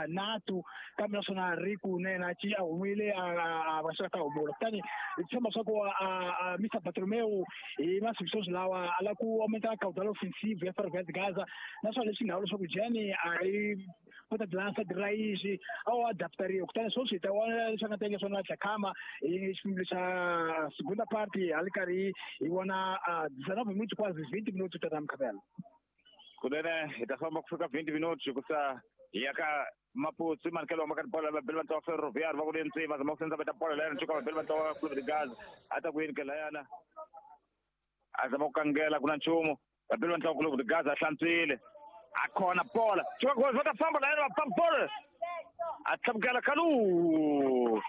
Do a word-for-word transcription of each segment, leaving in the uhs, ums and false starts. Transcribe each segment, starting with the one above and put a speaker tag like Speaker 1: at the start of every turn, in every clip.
Speaker 1: Natu kambe naswona ri ku na yena ci a humile a va ta humula kutani hi tshemba swa ku Mister Bartolomeu hi masiku sweswi lawa a lava ku aumenta caudal ofensivo ya Ferroviário de Gaza naswona leswi nga vula leswaku Jenny a hi ponta de lança de raiz ao adaptaria kutani sweswi hi ta vona leswi a nga ta endla swona Dhlakama hi xiphemu xa segunda parte a li karhi hi vona dezenove minutos quase vinte minutos ta Mkhabela.
Speaker 2: Kunene hi ta famba ku fika vinte minutos hikusa hi ya ka Maputsu manikelo wa bola va beli va ntlawa Ferroviário va ku le ntsima zama ku sendza veta bola layana ntshuka va beli va ntlawa Clube de Gaza a ta ku yini ke layana a zama ku kangela ku na nchumu va beli va ntlawa Clube de Gaza a hlantswile a khona bola tshuka ku va ta famba layana va famba bola a tlhamukela Kalu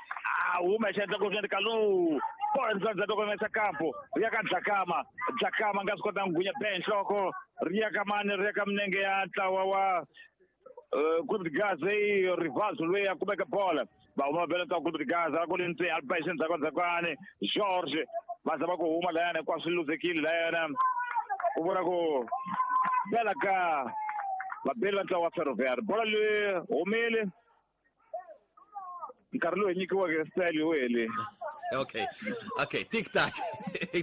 Speaker 2: a huma hi xiendla ku swi Kalu bola ndzi ku mesa kampo ri ya ka Dhlakama Dhlakama nga swi kota ku gunya be nhloko ri ya ka mani ri ya ka minenge ya ntlawa wa Clube de Gaza e Rivaldo loyi a kumeka bola va huma va bela Clube de Gaza ku le ntseni a ba xendzhaku ndzhakwane George va zama ku huma layana hinkwaswo swi luzekile layana ku vona ku bela ka vabeli va ntlawa wa Ferroviário bola leyi humile nkarhi lowu hi nyikiweke style wu hele.
Speaker 3: Ok, ok, tic-tac,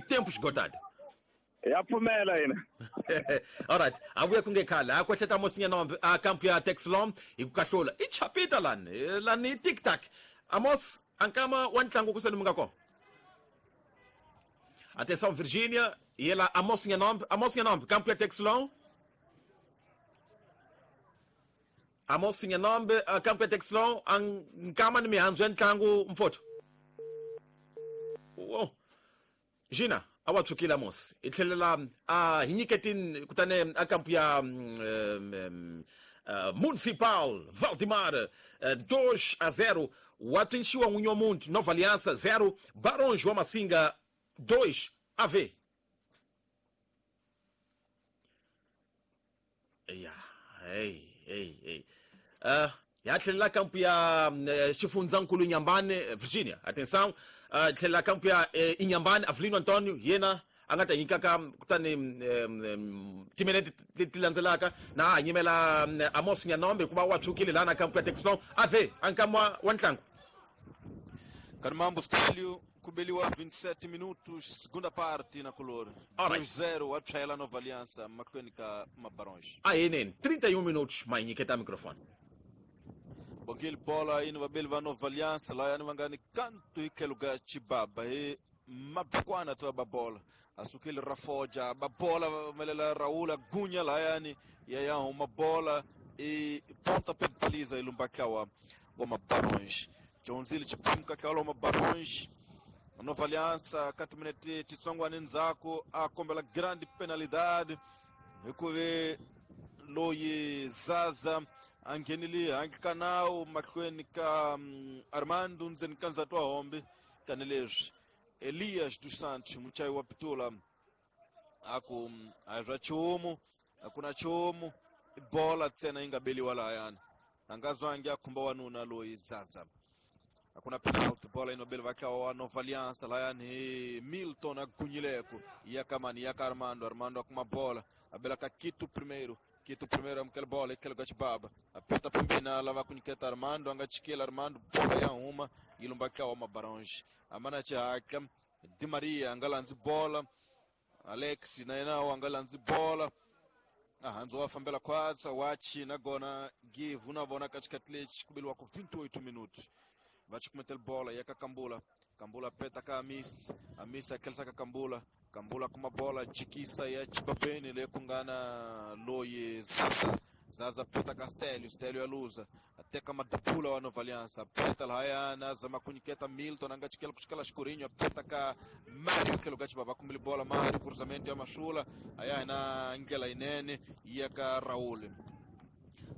Speaker 3: tempo esgotado.
Speaker 2: Ya pfumela yena.
Speaker 3: Alright, avuya ku nge khale a kwehleta Amos a kampu ya Texlon hi ku kahlula i chapita lani lani tic-tac. Amos ankama wa ntlangu ku seni mi nga kona. Atenção Virginia, e ela Amos Nhanombe, Amos Nhanombe, campo ya Texlon. Amos Nhanombe, campo ya Texlon, ankama ni mihandzu ya ntlangu mfotho. Oh. Gina awa tshukile Amos i tlhelela a hi nyiketini kutani a kampu ya um, uh, Municipal Valdemar uh, dois a zero wa Trinchiwa n'winyi wa muti Nova Aliança zero Barões wa Massinga dois a V. Ya, hey, hey, hey. Uh, ya tlhelela kampu ya uh, Xifundzankulu Inhambane Virginia. Atenção, uh, tlhelela kampu ya uh, Inhambane Avelino Antonio yena a nga ta nyikaka kutani um, timinete leti landzelaka na a nyimela um, Amos Nyanombe hikuva wa tshukile laha na kampu ya Texlon ave a nkama wa ntlangu.
Speaker 4: Kanimambo Stelio kubeliwa vinte e sete minutos segunda parte na color dois zero a tshayela Nova Aliança mahlweni ka Mabarões.
Speaker 3: A yeneni trinta e um minutos ma nyiketa microfone.
Speaker 4: Bongile bola yini vabeli va Nova Aliança layani va nga ni kantu hi tlhelo ka Chibaba hi mabekwana to ba bola asukile Rafoja ba bola melela Raul Agunya layani ya ya huma bola e ponta pe baliza ilumbakawa wa Mabarões. Jonzile chipimka kala wa Mabarões. Nova Aliança katiminete titsongwane ndzhaku a kombela grande penalidade hikuve loyi Zaza a nghenile handle ka nawu mahlweni ka um, Armando ndzeni ka ndzati wa hombe tanihileswi Elias dos Santos muchayi wa pitula a ku a swa nchumu a ku na nchumu bola ntsena yi nga beliwa lahayani a nga zwangi a khumba wanuna loyi Zaza. Hakuna penalty bola inobeli vakawa wa Nova Aliança layani hi Milton agunyileko ya kamani ya Armando Armando akuma bola abela ka Quito primeiro Quito primeiro amukela bola ikela ka Chibaba apeta pembeni lava kunyiketa Armando anga chikela Armando bola ya huma ilumba kawa Mabarões amana chihaka Di Maria anga landzi bola Alex na yena anga landzi bola ahanzo wa fambela khwatsa wa china gona give una vona ka xikhathi lexi ku beliwa ku vinte e oito minutos va chukumetela bola ya ka Kambula Kambula peta ka Amis Amis akhelisa ka Kambula Kambula kuma bola jikisa ya Chibabeni le ku nga na loyi Zaza Zaza peta ka Stelio Stelio ya luza ateka madupula wa Nova Aliança peta lahayana zama kunyiketa Milton anga chikela kuchikela xikurinho peta ka Mario tlhelo ka Chibaba kumile bola Mario cruzamento ya Mashula aya na ndlela yinene ya ka Raul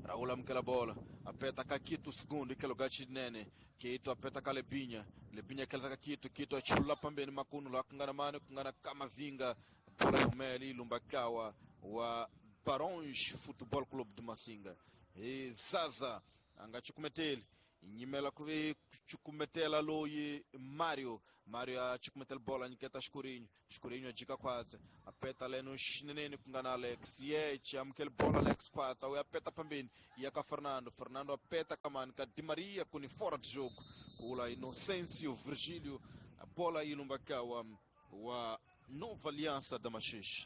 Speaker 4: Raul amukela bola apeta ka Quito segundo ikelo ga chinene Quito apeta ka Lebinha Lebinha akela ka Quito Quito achula pambeni makunu la kungana mane kungana Kamavinga bola yumeli ilumba kawa wa Barões Futebol Clube de Massinga e Zaza anga chukumeteli Nyimela ku ve cukumetela loyi Mario. Mario a cukumetela bola nyiketa Xikurhinyo. Xikurhinyo a jika khwatsi a peta leno xineneni ku nga na Alex Yeche amukela bola Alex khwatsi a ya peta phambeni ya ka Fernando. Fernando a peta kamani ka Di Maria ku ni fora de jogo kula Inocêncio Virgílio a bola yi lumba ka wa wa Nova Aliança da Maxixe.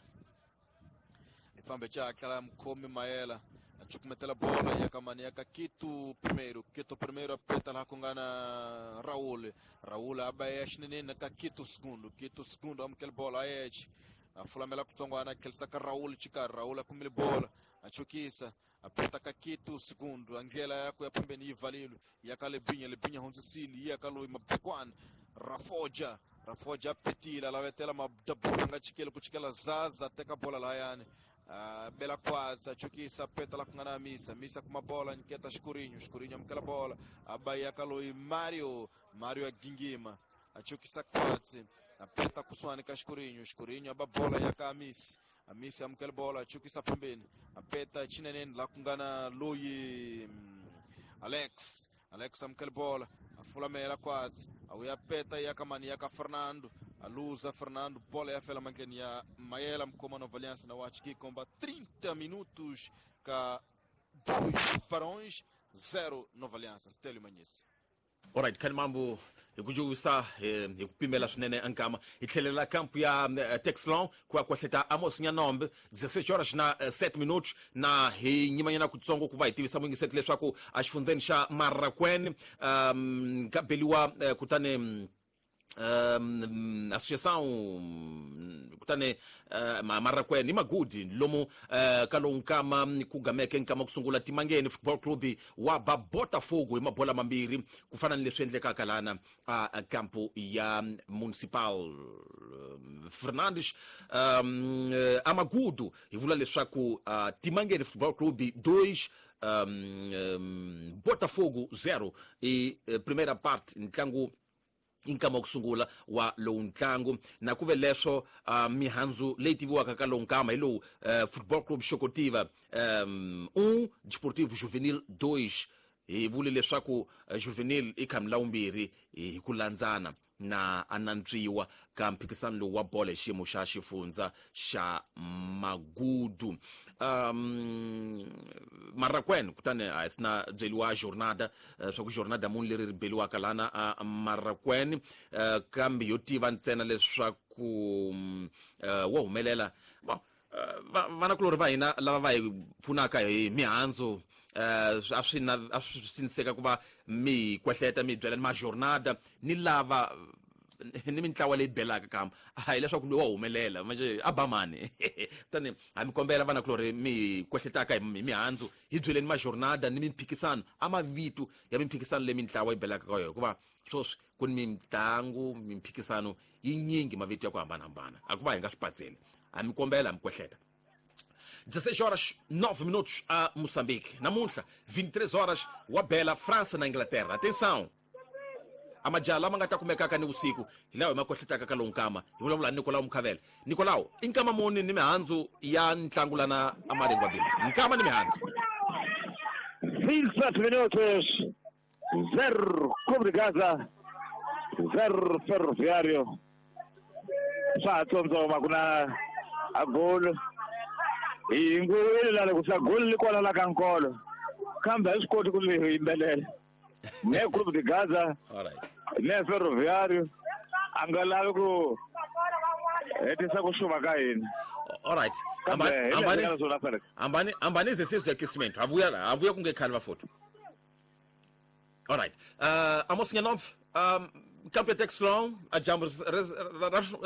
Speaker 4: Ifambe cha tlala mkhomi Maela a cukumetela bola ya kamani ya ka Quito primeiro. Quito primeiro a peta lá com gana Raul. Raul a baia xinenene ka Quito segundo. Quito segundo amukela bola a Edge. A fulamela kutsongwana khelisa ka Raul chika Raul akumile bola a chukisa a peta ka Quito segundo. Angela ya ku ya pembeni yi valilo ya ka Lebinha. Lebinha hundzisile ya ka loyi Mabekwana Rafoja. Rafoja petila lavetela mabula nga chikele ku chikela Zaza teka bola layani. Uh, Bela Quadza chukisa peta la kungana misa misa kuma bola nyiketa Xikurhinyo. Xikurhinyo amukela bola abaya kaloi Mario. Mario agingima achukisa Quadzi apeta kuswani ka Xikurhinyo. Xikurhinyo aba bola ya ka Amisi. Amisi amukela bola achukisa pembeni apeta chineneni la kungana loyi Alex. Alex amukela bola afulamela Quadzi awuyapeta ya kamani ya ka Fernando. Aluza Fernando, bola ya fela mankeni ya Maela mkoma Nova Aliança na Watch komba trinta minutos ka dois para zero Nova Aliança. Stélio Manhese.
Speaker 3: Alright, kani mambo hi ku juvisa hi ku pimela swinene ankama hi tlhelela kampu ya Texlon ku ya kwahleta Amos Nyanombe dezesseis horas na sete minutos na hi nyimanyana kutsongo ku va hi tivisa muyingiseti leswaku a xifundzeni xa Marraquene um ka beliwa kutani um associação kutani uh, Marraquene Magudi lomu uh, kalonkama kugameke nkama kusungula Timangeni Football Club wa ba Botafogo hi mabola mambirhi ku fana ni leswi endlekaka lana a uh, kampo ya Municipal um, Fernandes um, uh, Amagudu hi vula leswaku uh, Timangeni Football Club dois um, um, Botafogo zero e uh, primeira parte ntlangu inkama kusungula wa lowu ntlangu na kuve leswo uh, mihandzu leyi tiviwaka ka lowu nkama hi lowu uh, Football Club Xokotiva um, um Desportivo Juvenil dois hi vule leswaku uh, Juvenil i kha milawumbirhi hi ku landzana na anantswiwa ka mphikisano lowu wa bolo hi xiyimo xa xifundza xa Magudu. um, Marraquene kutani a sina byeliwa jornada uh, swa ku jornada muni leri ri beliwaka lana a uh, Marraquene uh, kambe yo tiva ntsena leswaku um, uh, wo humelela bon uh, vanakulori va hina lava va hi pfunaka hi mihandzu uh, a swi na a swi siniseka ku va mi kwehleta mi byela ni majornada ni lava ni mintlawa leyi belaka kamba a hi leswaku loyi wa humelela manje a ba mani tani a mi kombela vanakulori mi kwehletaka hi mihandzu hi byeleni majornada ni mimphikisano a mavito ya mimphikisano leyi mintlawa yi belaka ka yona hikuva sweswi ku ni mintlangu mimphikisano yinyingi mavito ya ku hambanahambana a ku va hi nga swi patseli a mi kombela a mi kwehleta. dezesseis horas nove minutos a Moçambique. Namuntlha vinte e três horas wa bela França na Inglaterra. Atenção! A majala ma nga ta kumekaka ni vusiku hi lawa hi ma kwehletaka ka lowu nkama hi vulavula ni Nicolau Mukhavele. Nicolau, i nkama muni ni mihandzu ya ntlangu lana a Maringwabini? Nkama ni mihandzu.
Speaker 2: vinte e sete minutos, zero Clube de Gaza, zero Ferroviário. Swa ha tsondzoma ku na a golo. Hi nguvile la loko sa golo li kwala la ka nkolo kambe a swi koti ku li yimbelela ne Clube de Gaza ne Ferroviário a nga lavi ku hetisa ku xuma ka hina.
Speaker 3: Alright, ambani ambani exercício de aquecimento avuya la avuya ku nge khali va foto. Alright, uh, Amos Nyanombe um, kampe Texlon a jambo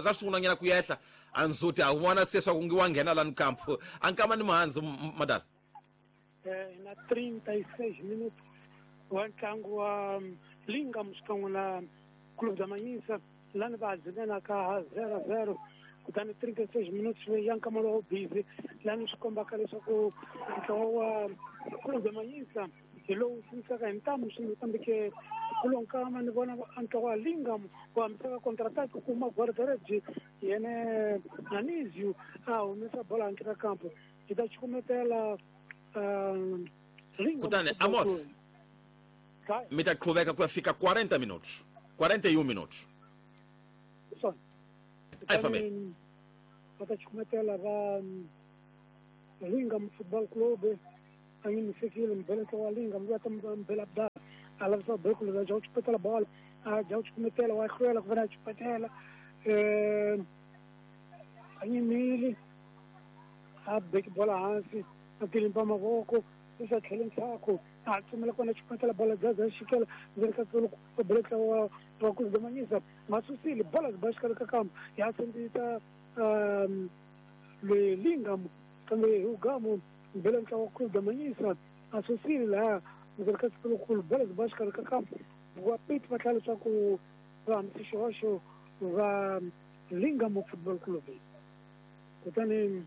Speaker 3: ra sungula nyana ku yehla a ndzhuti a vona se swa ku ngi wa nghena lani kampo a nkama ni mihandzu madala
Speaker 5: eh na trinta e seis minutos wa ntlangu wa Linga xikan'we na Clube da Manhisa lani va dzinela ka zero zero kutani trinta e seis minutos ya nkama lowo busy lani swi kombaka leswaku ntlawa wa Clube da Manhisa hi lowu sinisaka hi ntamu swinene kambe ke kulonkama ni vona ntlawa wa Lingam ku hambisaka contraataque ku kuma guarda-redes yene Anizio a humesa bola handle ka kampo hi ta cukumetela Lingam.
Speaker 3: Kutani Amos mi ta qhuveka ku ya fika quarenta minutos, quarenta e um minutos.
Speaker 5: Swona.
Speaker 3: A hi fambeni.
Speaker 5: Va ta chukumetela va Lingam Football Club a nyimisekile mbele wa Lingam va ta mbela ba a lavisa bekulu va ja chupetela bola a ja chukumetela wa hlwela ku vona chupetela eh a nyimile a beki bola hansi a tilimpa mavoko isa tlhele ndzhaku a tsumela kona chupetela bola jaza xikela ndzi ka tsolo ku beleka wa wa ku domanyisa masusile bola ba xikala ka kambo ya sendita um le Lingam kambe ugamu mbele wa ku domanyisa asusile la ndzi ka tsolo ku bola ba xikala ka kambo wa pit va tlhela swa ku va msixoxo va Lingam Football Club kutani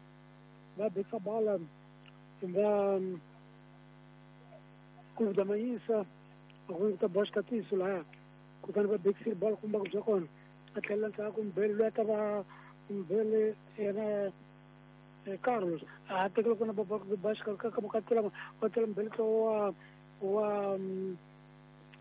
Speaker 5: va beka bola va Clube da Manhissa ku ta boxa tiso la kutani va bekisile bola kumba ku bya kona a tlhela ndzhaku mbele loyi a ta va mbele yena Carlos a tekela kona ba ba xikarhi ka ka tlula wa tlula mbele wa wa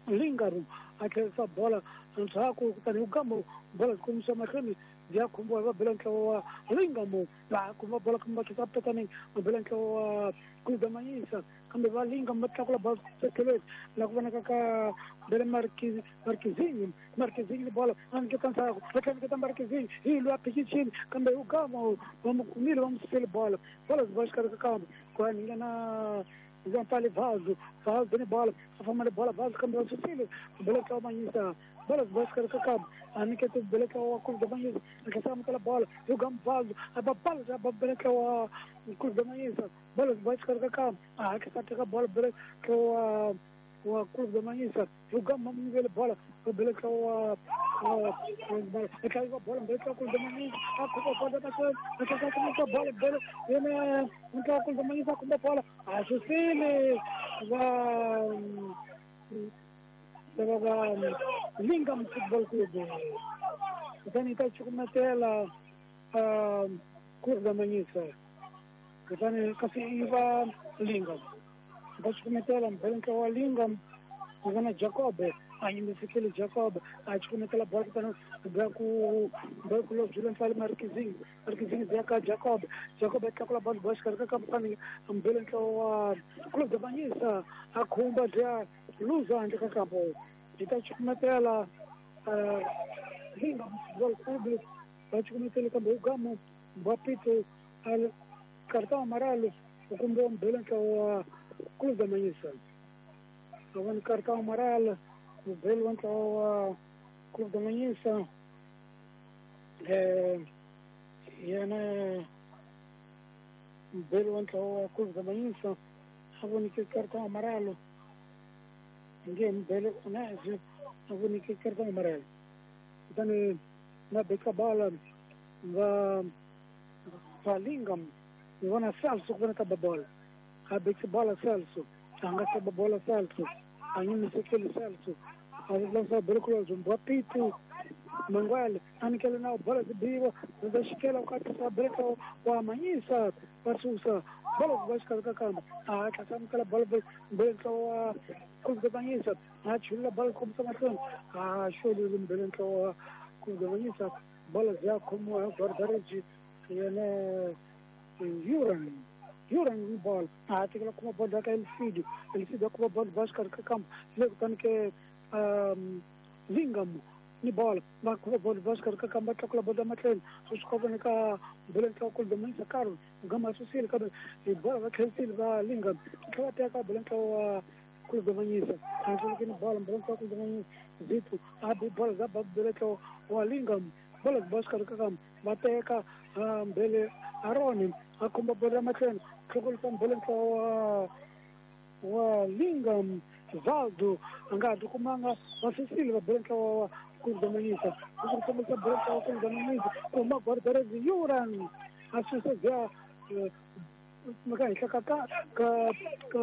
Speaker 5: Lingam a tlherisa bola ndzhaku kutani ugamo bola zikomisa mahlweni bya khumbiwa va bela ntlawa wa Lingam va kuma bola kumba kisa petaneng va bela ntlawa wa Clube da Manhissa kambe va Lingam va tlakula bola tlhelweni la ku vonaka ka bele Marquez Marquezinho Marquezinho bola a nyiketa ndzhaku va tlhela nyiketa Marquezinho hi loyi a phikichini kambe ugamo va mu kumile va mu susele bola bola zi va xikarhi ka kambe ku ya nyika na Zampali Vazo, Vazo ni bola, a fama ni bola Vazo kambe va susile bela ntlawa Manhissa bola zi va xikarhi ka kambe a nyiketa bela ntlawa wa Clube da Manhissa a tlhela amukela bola ugam Vazo a ba bola a ba bela ntlawa wa Clube da Manhissa bola zi va xikarhi ka kambe a hatlisa teka bola bela ntlawa wa Clube da Manhissa ugam ma nyikele bola bela ntlawa wa a tlhela bola bela ntlawa Clube da Manhissa a khumba bola mahlweni a tlhela khumba bola bela yena ntlawa Clube da Manhissa a khumba bola a susile va va va Lingam Football Club kutani ta chukumetela Clube da Manhissa kutani kasi i va Lingam va chukumetela mbele ntlawa wa Lingam ku vona Jacob a nyimisekile Jacob a chukumetela bola kutani bya ku bya ku lobjula ntlale Marquezinho Marquezinho bya ka Jacob Jacob a tlakula bola ba xikarhi ka kampani mbele ntlawa wa Clube da Manhissa a khumba bya luza handle ka kampo yi ta chukumetela Lingam Football Club va chukumetele kambe ugamo va pito cartão amarelo u kumbiwa mbele ntlawa wa Clube da Manhissa a vona cartão amarelo mbele wa ntlawa wa Clube da Manhissa eh yena mbele wa ntlawa wa Clube da Manhissa a vonike cartão amarelo nge mbele unazi a vonike cartão amarelo kutani na beka bola va va Lingam ni vona Celso ku vona ta bola a beka bola Celso a nga ta bola Celso a nyimisekele Celso a lansa bolo mbwa pitu Manguel a nyikela na bola zibiwa za xikela ku atisa breka wa Manhissa va susa bola va xikarhi ka kambe a tlhela amukela bola mbele ntlawa wa Clube da Manhissa a chulula bola kombisa mahlweni a xolile mbele ntlawa wa Clube da Manhissa bola ziya khomiwa hi guardaregi yena Yuran Yuran bola a tekela kuma bola ka Elfidio Elfidio a kuma bola va xikarhi ka kambe le kutani ke Lingam ni bola va kuma bola va xikarhi ka kambe va tlakula bola mahlweni swi swi kova ka mbele ntlawa Clube da Manhissa Carlos gama susile kambe hi bola va tlherisile va Lingam tlhela va teka bele ntlawa wa Clube da Manhissa a tlheleke ni bola mbele ntlawa Clube da Manhissa Zito a bi bola za ba bele ntlawa wa Lingam bola va xikarhi ka kambe va teka mbele Aroni a khumba bola mahlweni tlhokolisa mbele ntlawa wa wa Lingam Valdo a nga ha tikumanga va susile va bele ntlawa wa Clube da Manhissa ku kombisa bele ntlawa wa Clube da Manhissa kuma guardarezi Yuran a susa bya meka henhla ka ka ka ka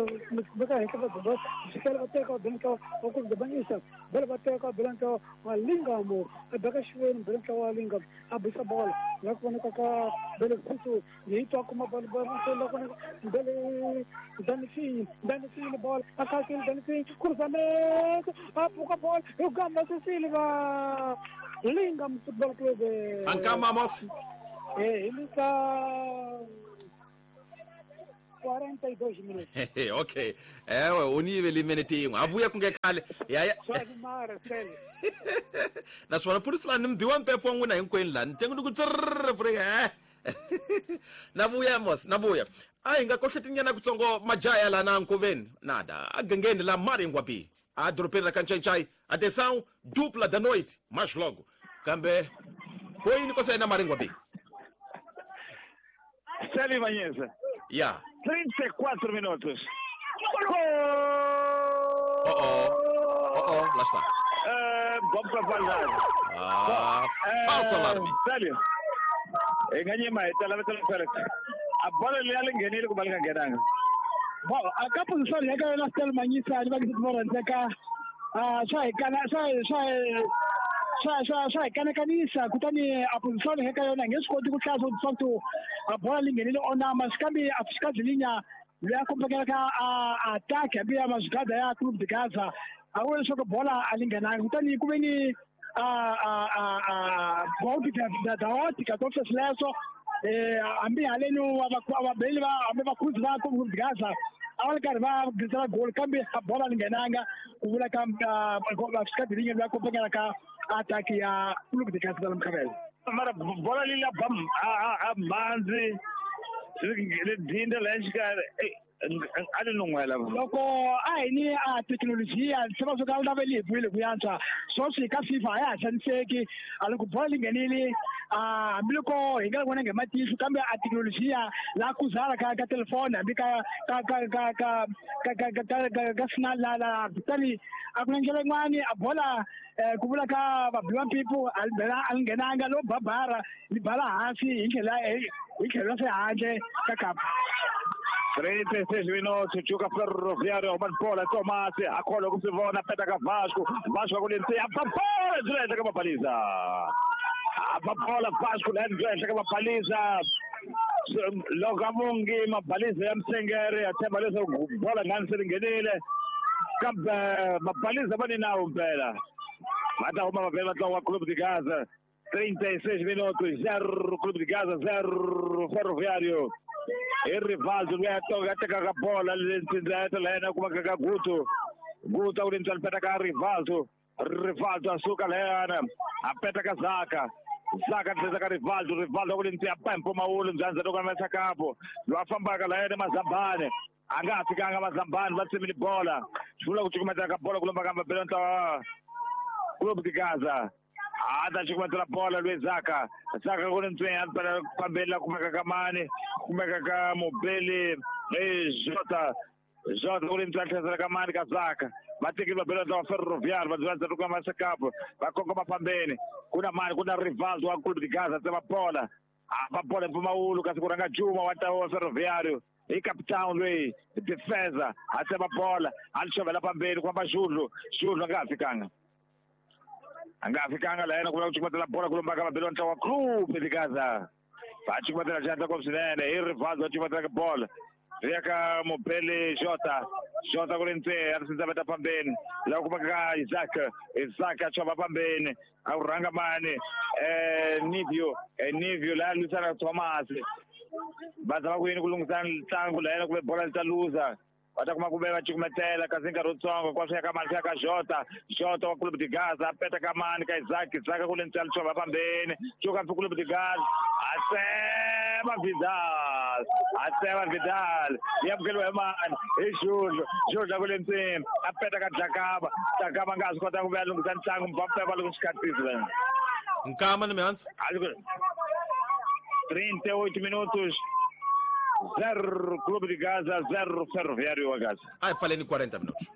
Speaker 5: meka henhla ka bolo xikela va teka va bela ntlawa wa Clube da Manhiça bela va teka va bela ntlawa wa Lingamo a beka xiveni bela ntlawa wa Lingamo a bisa bola la ku vonaka ka bele Kutu yi twa kuma bola bola la ku bele Danifini Danifini bola a kakile Danifini cruzamento a pfuka bola hi gamba Silva Lingam Football Club
Speaker 3: Ankama Amos
Speaker 5: eh hi ka quarenta e dois minutos.
Speaker 3: Ok. Ewe o nível imenete yin'we a vuya ku nge khale ya ya naswona phurisa lani mi biwa mpepo wa n'wina hinkwenu lani tengu ni ku tsrrr pfureka na vuya mos na vuya a hi nga kohletinyana kutsongo majaha lana nkoveni nada a gangeni la Maringwapi a dorobeni ra Kanchanchay. Atenção, dupla da noite mais logo kambe ko yini ko sayina Maringwapi
Speaker 2: Sally Manhesa.
Speaker 3: Yeah.
Speaker 2: trinta e quatro minutos. Gol!
Speaker 3: Oh, oh. Oh, oh, lá está.
Speaker 2: É, bom pra qualidade.
Speaker 3: Ah,
Speaker 2: bom,
Speaker 3: falso
Speaker 2: é,
Speaker 3: alarme.
Speaker 2: Sério. Enganhei mais, tá lá pelo Félix. A bola ali ela enganei com o Gangeranga.
Speaker 1: Bom, a capa do sol é que nós temos manhã, ele vai que se cá. Ah, sai, cana, sai, sai. Swa swa swa hi kanakanisa kutani a position eka yona nge swi koti ku hlaya swa ku a bola li nghenile onama kambe a Fiscadilinya loyi a kombekelaka a attack hambi ya mazigada ya Clube de Gaza a vula leswaku bola a li nghenanga kutani ku ve ni a a a a golpe da da ótica to sweswo eh hambi haleni vabeli va hambi vakhuzi va Clube de Gaza a va ri karhi va gisela goli kambe a bola li nghenanga ku vula ka Fiscadilinya loyi a kombekelaka ataque ya Clube de Gaza Mkhabela.
Speaker 2: Mara bola li la bam a a manzi le dinda la xikarhi a ni nun'wela
Speaker 1: loko a hi ni a thekinolojiya se va swo ka lava li hi vuyile ku yantswa sweswi ka FIFA a ya ha xaniseki a loko bola li nghenile a hambiloko hi nga vonangi hi matihlo kambe a thekinolojiya la kuzala ka ka telefoni hambi ka ka ka ka ka ka ka ka ka ka sina la la kutani a ku na ndlela yin'wani a bola ku vula ka vabiwa mpipu a li bela a li nghenanga lo babara li bala hansi hi ndlela hi tlhelo ra handle ka kapa.
Speaker 2: trinta e seis minutos, Chuca Ferroviário, Romano Bola, Tomás, a cola com Sivona, pega Vasco, Vasco com a bola direita com a baliza. A bola Vasco, lá direita com a baliza. Logo a Mungi, uma baliza ya Msengere, até baliza bola ngani selingenile. Kambe mabaliza bani nawo mpela. Mata uma mabela twa Clube de Gaza. trinta e seis minutos, zero Clube de Gaza, zero Ferroviário. E Rivaldo toca a bola ali kuma kaka Guto Guto ulinzi alipeta Rivaldo Rivaldo asuka leana apeta Kazaka Zaka teza ka Rivaldo Rivaldo ulinzi apempo maulu mzanza toka mesa kapo lwafamba ka leana Mazambane anga fikanga Mazambane batsimini bola shula kuchukumeta ka bola kulomba kamba belonta Clube de Gaza Ada chukumatela bola lwe Zaka Zaka kulinzi alipeta pambela kumeka kamani kumeka ka Mobele e Jota Jota kulinzi alipeta kamani ka Zaka batekile babela Ferroviário badzivanza toka masa kapo bakongoma pambeni kuna mani kuna Rivaldo wa Clube de Gaza tsema bola apa bola mpuma kasi kuranga Juma wa tawo Ferroviário e capitão lwe defesa atsema bola alishovela pambeni kwamba Júlio Júlio angafikanga angafikanga la yena kula kuchukumatela bola kulomba ka babela wa Clube de Gaza bachukumatela janta kwa msinene e Rivaldo achukumatela bola Riaka Mobele Jota Jota kulinze alisinza beta pambeni la kumaka Isaac Isaac achova pambeni auranga mane eh Nivio eh Nivio la lusana Thomas baza kuyini kulungisana tsangu la yena kube bola litaluza batakuma kubeka chukumatela kazinga rutsongo kwa fika mali ka Jota Jota wa Clube de Gaza apeta kamani ka Isaac Isaac kulinze alichova pambeni chuka Clube de Gaza asema Vidal asema Vidal yamkelwe mani iJulio Julio kulinze apeta ka Jakaba Jakaba ngazi kota kubeka lungisa ntsangu Mbappe balungisikhathi
Speaker 3: Nkama ni mihansi
Speaker 2: trinta e oito minutos zero Clube de Gaza, zero Ferroviário wa Gaza.
Speaker 3: Ai, falei em quarenta minutos.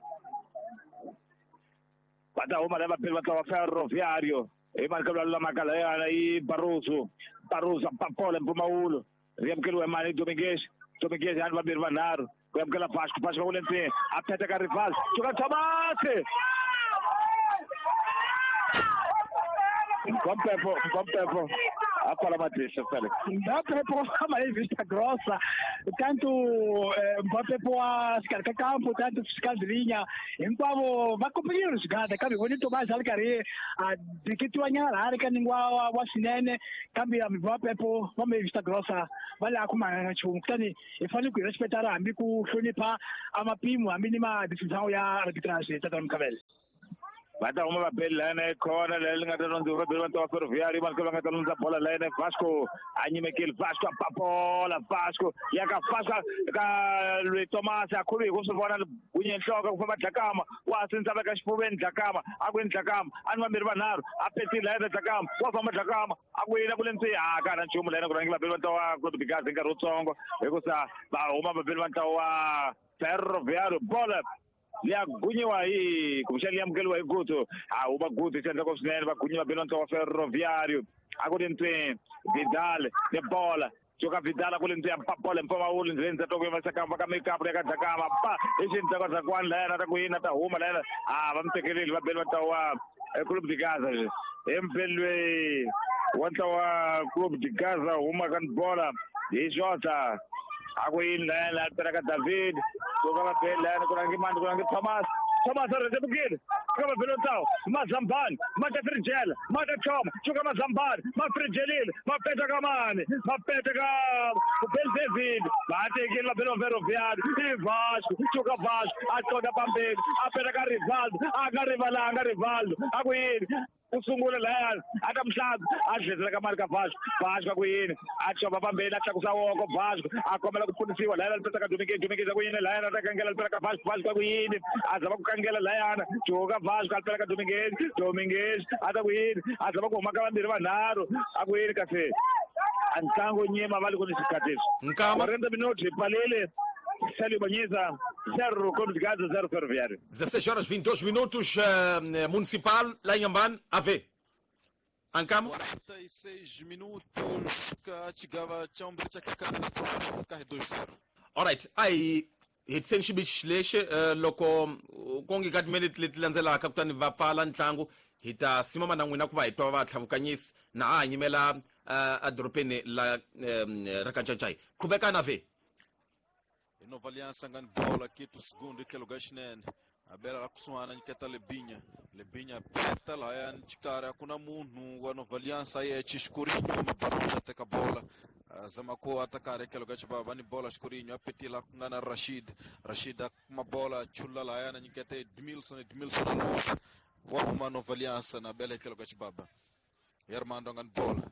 Speaker 2: Bata uma leva pelo Ferroviário. E marca la Macalea aí Barroso. Barroso papola em Pumaulo. Riamkelo Emani Domingues. Dominguez yani vambirhi vanharhu ku amukela Vasco Vasco va ku le ndzeni a peta ka Rivaldo cuka Thomas Mkompepo Mkompepo a pfala matihlo Felix
Speaker 1: Mbapepo ama em vista grossa tanto Mbapepo wa xikarhi ka kampo tanto fiscal de linha hinkwavo va kombeliwe swigada kambe voni Tomás a ri karhi a diketiwa nyana laha ri ka ningwa wa, wa swinene kambe Mbapepo va me vista grossa va le a kumana na nchumu kutani hi fanele ku hi respectara hambi ku hlonipha a mapimo hambi ni ma-decision ya arbitrage tata Mkhabele.
Speaker 2: Va ta huma vabeli layena ekhona leyi li nga ta londziwa vabeli va ntlawa Ferroviário mani va nga ta londza bola layena Vasco a nyimekile Vasco a ba bola Vasco ya ka Vasco ka Luis Thomas a khuluhi ku swi vona gunye nhloko ku famba Dlakama wa sindza veka xifuveni Dlakama a ku yini Dlakama a ni vambirhi vanharhu a petile layena Dlakama wa famba Dlakama a ku yini ku le ndzeni a ka na nchumu layena ku rhangela vabeli va ntlawa Clube de Gaza hi nkarhi wutsongo hikusa va huma vabeli va ntlawa Ferroviário bola liya gunyiwa hi kumbexana liya amukeriwa hi Guto a huma Guto xi endlaka swinene va gunyiwa belo ntlawa Ferroviário a ku ri ntsweni Vidal ni bola cuka Vidal a ku ri ntsweni pa bola mpfumawulo ndzeni ndza toko yimasa kamba ka makeup ya ka Dlakama pa hi xindzaka Dlakwani layena ta ku yini ta huma layena a va mi tekeleli va beli va ntlawa Clube de Gaza hi mpeli loyi wa ntlawa Clube de Gaza huma ka bola hi Jota a ku yini layena a pela ka David cuka va beli layena ku rangi mani ku rangi Thomas Thomas a rhendzelekile cuka va beli ntlawa Mazambani ma ta firijela ma ta choma cuka Mazambani ma firijelile ma peta ka mani ma peta ka Bel David va tekile va beli va Ferroviário i Vasco cuka Vasco a qonda pambeni a peta ka Rivaldo a nga rivalanga Rivaldo a ku yini ku sungula layani a ta mhlanzi a dledzela ka mali ka Vasco Vasco a ku yini a chova pambeni a tlakusa woko Vasco a kombela ku pfunisiwa layana li peta ka Dominguez Dominguez a ku yini layana a ta kangela li pela ka Vasco Vasco a ku yini a zama ku kangela layana cuka Vasco a li pela ka Dominguez Dominguez a ta ku yini a zama ku huma ka vambirhi vanharhu a ku yini kasi a ntlangu nyima va le ku ni xikhatisi
Speaker 3: Nkama
Speaker 2: quarenta minutos hi pfalile Célio Banhisa zero Clube de Gaza zero Ferroviário.
Speaker 3: dezesseis horas vinte e dois minutos, uh, Municipal, lá em Ambane, A V. Ancamo?
Speaker 4: quarenta e seis minutos, chegava Chombre chakakana na carre dois zero.
Speaker 3: Alright, aí hetiseni xibixi lexi uh, loko ku ngi ka timinete leti landzelaka kutani va pfala ntlangu hi ta simama na n'wina ku va hi twa va tlhavukanyisi na ha nyimela uh, edorobeni la um, ra Kanchanchai. Qhubekana V.
Speaker 4: Nova Aliança ngani bola quinto segundo tlhelo ka xinene a bela la kusuhana nyiketa Lebinha Lebinha peta lahaya xikarhi a ku na munhu wa Nova Aliança yexe Xicorinho Mabaronja teka bola zama ku atakare tlhelo ka xibava ni bola Xicorinho a petila ku nga na Rashid Rashid a kuma bola chula lahaya na nyiketa Edmilson Edmilson a luza wa huma Nova Aliança na bela tlhelo ka xibaba Armando ngani bola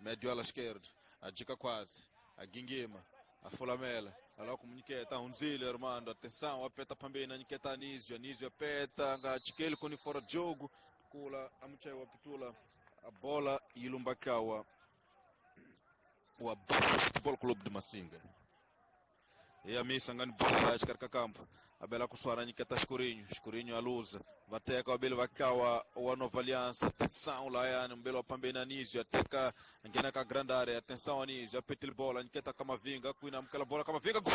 Speaker 4: médio ala esquerda a jika quase a gingima a fulamela ala kumunyiketa hundzile Armando atenção apeta pambeni anyiketa Anísio Anísio apeta nga chikeli kuni fora jogo kula amuchai wapitula a bola ilumbakawa wa Futebol Clube de Massinga e a missa ngani bola la xikarhi campo abela kuswara nyiketa Escurinho Escurinho aluza vateka wabili vakawa wa Nova Aliança atenção layani mbele wa pambeni Anísio ateka ngena ka grande área atenção Anísio apetile bola nyiketa Kamavinga kuina mkala bola Kamavinga gol.